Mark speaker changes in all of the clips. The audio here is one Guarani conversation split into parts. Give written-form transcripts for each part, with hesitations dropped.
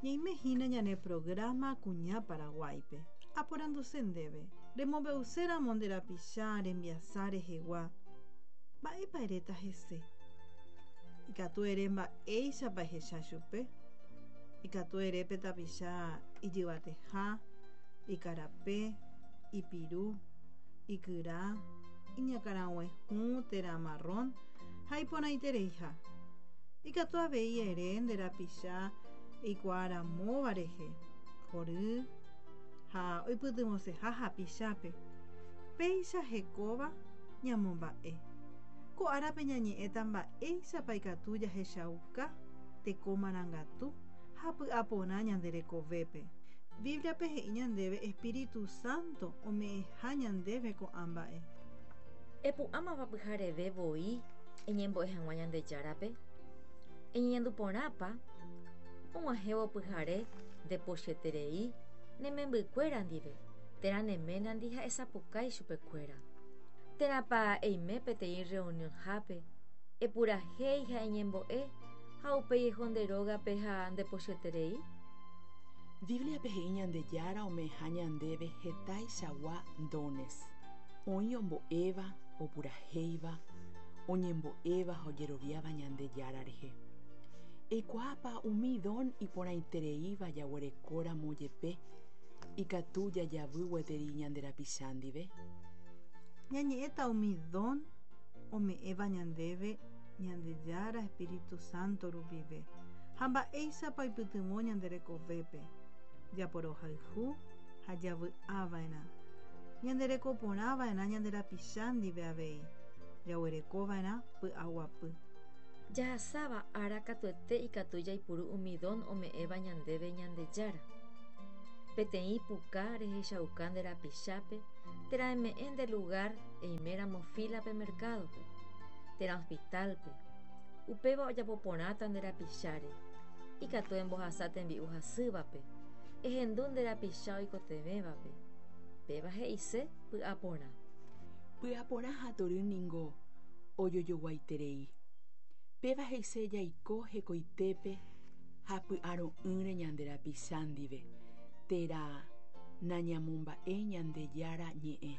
Speaker 1: Ñaime hína ñane programa Kuña Paraguáipe. Aporanduse ndéve, remombe'uséramo nde rapicha rembiasa rehegua, mba'épa eréta hese? Ikatu ere mba'éichapa ehecha chupe. Ikatu ere pe tapicha ijyvateha, ikarape, ipiru, ikyra, iñakãrague hũ térã marrón ha iporãitereiha. Ikatu avei ere nde rapicha eikuaaramóva rehe, hory ha oipytyvõseha hapichápe. Péicha hekóva ñamomba'e. Ko árape ñañe'ẽta mba'éichapa ikatu jahechauka teko marangatu ha py'aporã ñande rekovépe. Bíbliape he'i ñandéve espíritu sánto ome'ẽha ñandéve ko'ã mba'e.
Speaker 2: Epu'ãmava pyhareve voi eñembo'e hag̃ua Ñandejárape? Eñeñandu porãpa og̃uahẽvo pyhare ndepochyeterei ne membykuéra ndive térã ne ménandi ha esapukái chupekuéra? Térãpa eime peteĩ rreunionhápe epurahéi ha eñembo'e ha upéi eho nde rógape ha ndepochyeterei?
Speaker 3: Bíbliape he'i Ñandejára ome'ẽha ñandéve hetaichagua dones. Oĩ ombo'éva, opurahéiva, oñembo'éva ha ojeroviáva Ñandejára rehe. Eikuaápa umi don iporãitereíva jaguerekóramo jepe ikatu jajavy gueteri ñande rapicha ndive?
Speaker 1: Ñañe'ẽta umi don ome'ẽva ñandéve Ñandejára espíritu sánto rupive ha mba'éichapa oipytyvõ ñande rekovépe. Japorohayhu ha javy'ava'erã. Ñanderekoporãva'erã ñande rapicha ndive avei. Jaguerekova'erã py'aguapy.
Speaker 2: Jahasáva ára katuete ikatu jaipuru umi don ome'ẽva ñandéve Ñandejára. Peteĩ puka rehechauka nde rapichápe térã eme'ẽ nde lugár eiméramo fílape merkádope, térã ospitálpe. Upéva ojapo porãta nde rapicháre. Ikatu embohasa tembi'u hasývape, ehendu nde rapicha oikotevẽvape. Péva he'ise py'aporã.
Speaker 3: Py'aporã ha tory ningo ojojoguaiterei. Péva he'ise jaiko hekoitépe ha py'aro'ỹre ñande rapicha ndive, térã nañamomba'éi Ñandejára ñe'ẽ.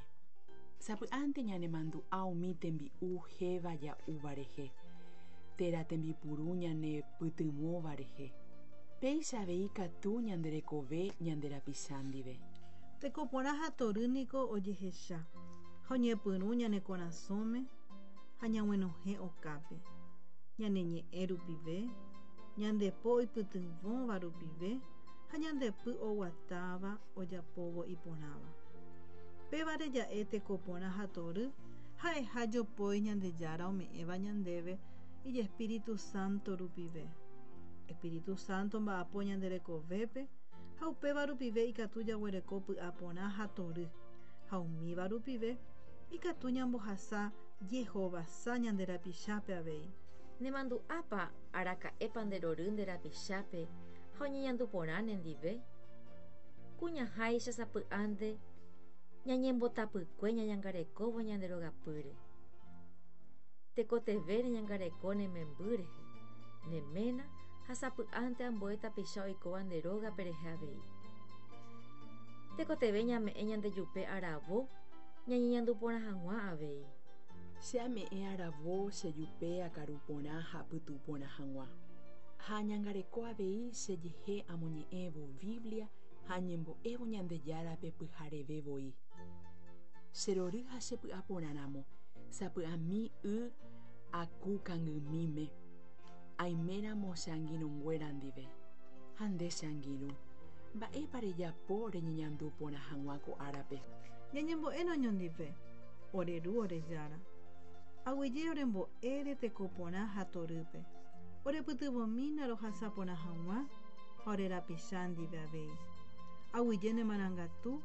Speaker 3: Sapy'ánte ñanemandu'a umi tembi'u héva ja'úva rehe, térã tembipuru ñanepytyvõva rehe. Péicha avei katu ñande rekove ñande rapicha ndive.
Speaker 1: Teko porã ha tory niko ojehecha ha oñepyrũ ñane korasõme ha ñag̃uenohẽ okápe, ñane ñe'ẽ rupive, ñande po oipytyvõva rupive ha ñande py oguatáva ojapóvo iporãva. Pévare ja'e teko porã ha tory ha'eha jopói Ñandejára ome'ẽva ñandéve ijespíritu sánto rupive. Espíritu sánto omba'apo ñande rekovépe ha upéva rupive ikatu jaguereko py'aporã ha tory, ha umíva rupive ikatu ñambohasa jehovasa ñande rapichápe avei.
Speaker 2: Nemandu'ápa araka'épa nde rory nde rapichápe ha oñeñandu porã nendive? Kuñaháicha sapy'ánte ñañembotapykue ñañangarekóvo ñande rogapýre. Tekotevẽ reñangareko ne memby rehe, ne ména ha sapy'ánte ambue tapicha oikóva nde rógape rehe avei. Tekotevẽ ñame'ẽ ñandejupe aravo ñañeñandu porã hag̃ua avei.
Speaker 3: Che ame'ẽ aravo chejupe akaru porã ha apytu porã hag̃ua. Ha añangareko avei chejehe amoñe'ẽvo Biblia ha añembo'évo Ñandejárape pyhareve voi. Cherory ha chepy'aporãramo, sapy'ami y aku kangymíme, aiméramo che angirũnguéra ndive. Ha nde che angirũ, mba'épa rejapo reñeñandu porã hag̃ua ko árape?
Speaker 1: Ñañembo'érõ oñondive, ore Ru ore Jára. Aguyje orembo'ére teko porã ha torýpe. Orepytyvõmína rohasa porã hag̃ua ha ore rapicha ndive avei. Aguyje ne marangatu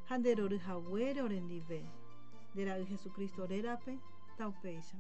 Speaker 1: ha nde rory haguére orendive. Nde Ra'y Jesucristo rérape, taupéicha.